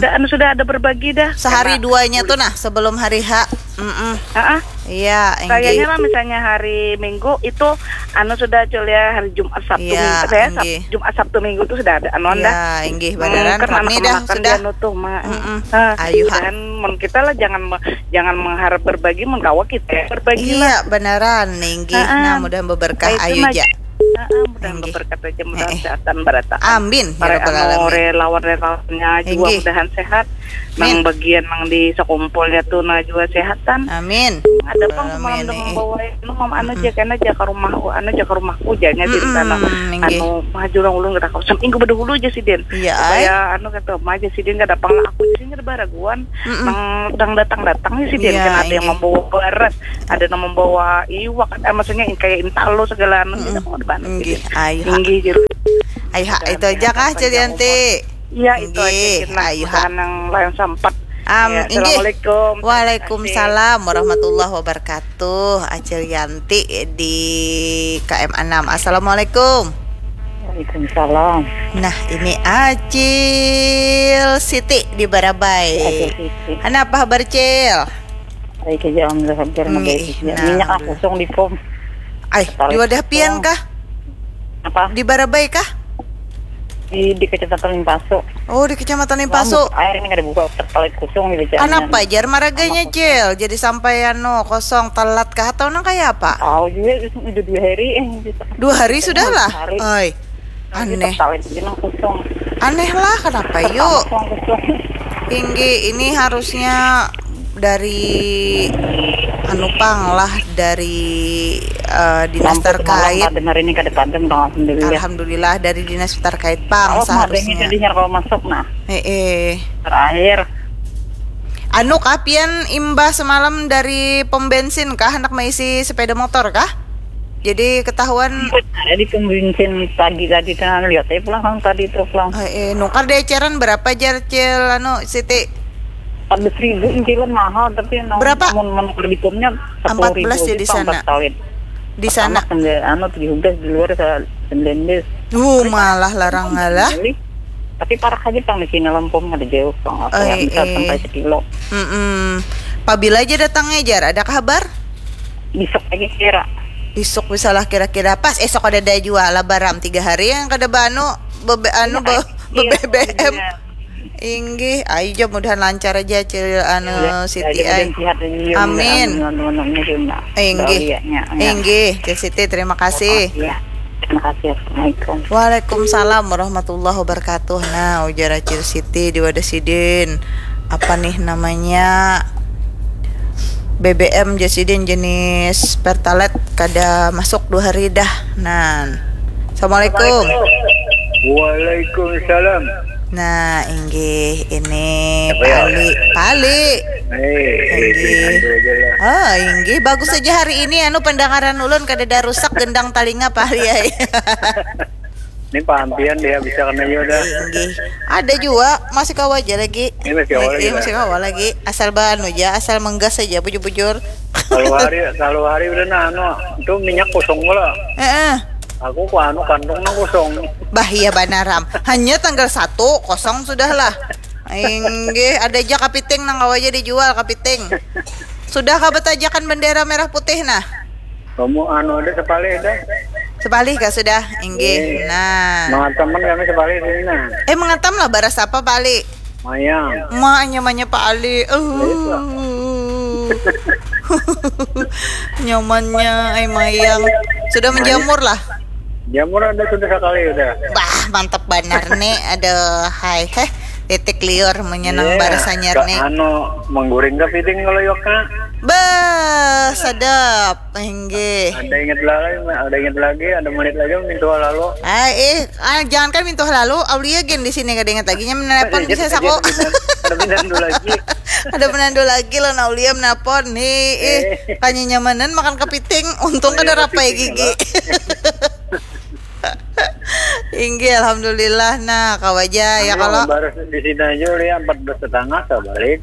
Dah, anu, sudah ada berbagi dah. Sehari duanya tuh, nah, sebelum hari H. Heeh. Iya, kayaknya lah, misalnya hari Minggu itu, anu, sudah, Cul, ya, hari Jumat, Sabtu, Minggu, eh, Sab-, Jumat, Sabtu, Minggu tuh sudah ada anuan dah. Iya, inggih, banaran, rami dah sudah. Anu tuh, Ma. Ayu, ha. Dan mun kita lah jangan me-, jangan mengharap berbagi, mun kawa kita yang berbagi lah. Iya, banaran, inggih. Nah, mudahan beberkah, ayu ja. Heeh, mudahan beberkat aja, mudahan sehatan barataan. Amin, ya rabbal alamin. Relawan-relawannya juga mudahan sehat. Nang bagian nang di sekumpulnya tuh, nah, juga sehatan. Amin. Ada pang semalam dah membawa, anu, mam, anu, ja, kena ja ke rumah, anu, ja ke rumahku, janya di sana. Anu, mah jurang ulun kada kawa. Seminggu bedahulu aja sidin. Iya, supaya, anu, kata, mah aja sidin kada pang lah aku, jadi kada baraguan. Nang datang-datang nih sidin, kan ada yang membawa barat, ada nang membawa iwak, eh, maksudnya kayak intalo segala anu, kita mau depan. Inggih, ayu, ha. Inggih, juru. Ayu, ha, itu aja kah, Cil Yanti? Iya, itu aja, inggih, ayu, ha. Nang lain sampat. Am, ya, inggih. Assalamualaikum. Waalaikumsalam warahmatullahi wabarakatuh. Acil Yanti di K M enam. Assalamualaikum. Waalaikumsalam. Nah, ini Acil Siti di Barabai. Acil Siti. Kenapa kabar, Cil? Baik aja, alhamdulillah, hampir baik aja. Minyak, ah, kosong di pom. Ay, di wadah pian kah? Apa? Di Barabai kah? Di, di Kecamatan Limpaso. Oh, di Kecamatan Limpaso. Air ini kada buka, terpalit kosong di. Kenapa, jar, maraganya, Cil? Jadi sampai, anu, kosong, telat kah atau nang kaya apa? Tahu juga, udah dua hari, eh, gitu. Dua hari sudah lah? Dua hari. Oi. Aneh. Aneh lah, kenapa, yuk? Tinggi, ini harusnya dari, anu, pang lah, dari, eh, dinas terkait. Dengar ini kada pantun, Bang, alhamdulillah. Alhamdulillah, dari dinas terkait, pang, seharusnya. Jadinya kalau masuk, nah. Eh, eh. Terakhir. Anu kah, pian imbah semalam dari pom bensin kah, hendak maisi sepeda motor kah? Jadi ketahuan. Di pom bensin pagi tadi, tengah lihat saya pulang kan tadi tuh pulang. Eh, eh, nukar di eceran berapa, jar, Cil, anu, Siti? Empat belas ribu, intilan mahal, tapi nang Berapa? Mun menukar di pomnya Empat belas ya di sana. Di sana. Anu, tujuh belas, di luar sembilan belas. Uh, malah larang ngalah. Tapi parak aja pang di sini, lampung ada jauh pang, apa Oh, yang bisa eh. Sampai sekilo. Mm-mm. Pabila aja datangnya, Jar, ada kabar? Besok aja kira. Besok bisa lah kira-kira, pas esok ada daya jual lah, baram tiga hari yang kada banu bebe anu be, be B B M. Inggih, ayo aja, mudahan lancar aja, Cil, anu, Siti, ay. Amin. Inggih. Inggih, Cil Siti, terima kasih. Ya. Terima kasih. Assalamualaikum. Waalaikumsalam warahmatullahi wabarakatuh. Nah, ujar Acil Siti di wadah sidin, apa nih namanya, B B M, jar sidin, jenis Pertalite kada masuk dua hari dah. Nah, assalamualaikum. Waalaikumsalam. Nah, inggih, ini Apa ya? Pali, Pali. Eh, Inggih. Itu aja lah. Oh, inggih, bagus saja hari ini, anu, pendengaran ulun kada ada rusak, gendang talinga, Pali, ay. Ini pampian dia bisa kena juga dah. Inggih. Ada juga, masih kawa aja lagi. Ini masih kawa lagi, Iya, dah. Masih kawa lagi. Asal banu aja, asal menggas aja, bujur-bujur. Kalau hari, kalau hari udah nah, anu, itu minyak kosong pula. Heeh. Aku ku anu, kantong nang kosong. Bah, iya banaram. Hanya tanggal satu kosong sudah lah. Inggih, ada aja kapiting nang kawa aja dijual, kapiting. Sudah kah betajakan bendera merah putih nah? Kamu anu ada sepalih dah. Sepalih kah sudah? Inggih. Nah. Mengataman kami sepalih sini nah. Eh, mengatam lah, baras apa, Pali? Mayang. Ma, nyamannya Pali. Uh. Nyamannya, ay, mayang. Sudah menjamur lah. Jamur ada sudah sekali udah. Bah, mantap banar nih. Aduh, hai. Heh, titik liur menyenang Iya, barasannya ka- nih. Anu, mengguring kepiting kalau yoka. Bah, sedap. Inggih. Ada ingat lagi, ada ingat lagi, ada menit lagi minta lalu. Ah, eh, ah, jangankan mintuh lalu, Aulia gen di sini kada ingat lagi, nya menelepon bisa sako. Ada pinandu lagi. Ada penandu lagi lo, Aulia menelpon nih. Eh, kanya nyamanan makan kepiting, untung kada rapai gigi. Inggih, alhamdulillah. Nah, kawa aja ya kalau Baru di sini aja udah empat belas setengah balik.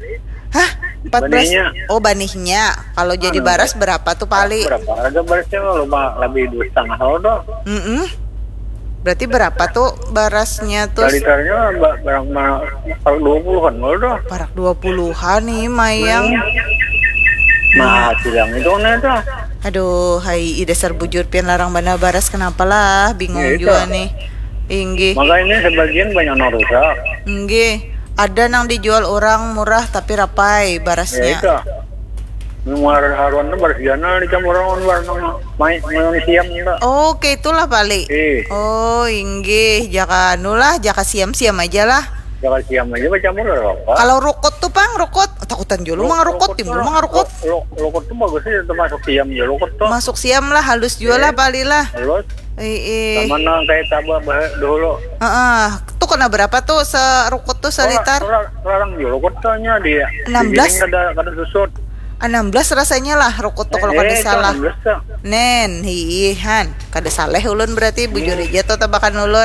Hah? Empat belas. Banihnya. Oh, banihnya. Kalau jadi Anu, baras berapa tuh, Pali? Berapa harga barasnya kalau ba- lebih dua setengah kalau doh. Mm-mm. Berarti berapa tuh barasnya tuh? Litarnya ba- barang ma- kalau dua puluhan kalau doh. Parak dua puluhan nih, mayang. Nah, bilang itu kan itu. Aduh, hai, ih, dasar bujur pian, larang banar baras, kenapa lah? Bingung Ya, itu. Juga nih. Inggih. Makanya sebagian banyak yang rusak. Inggih. Ada nang dijual orang murah tapi rapai Ya barasnya. Itu. Muar haruan tuh baris ganal dicampur orang baru main main siam juga. Oh, kayak itulah, Pali. Eh, Oh, inggih, jaka anu lah, jaka siam-siam aja lah. Jangan siam aja bacampur lah apa? Kalau rukut tuh, Pang, rukut. Takutan dulu mang rukut, timbul mang rukut. Rukut tuh bagus sih, termasuk siam ya rukut tuh. Masuk siam lah, halus juga lah, Pali lah. Terus Ih, ih. Sama nang kayak tabah bah- dulu. Heeh. Tuh kena berapa tuh serukut tuh, selitar? Larang juga rukut tuh nya dia. Enam belas. Di sini kada kada susut. Enam belas rasanya lah rukut tuh kalau kada Eh, salah. Enam belas tuh. Nen, hiihan. Kada saleh ulun berarti, bujur aja tuh tebakan ulun.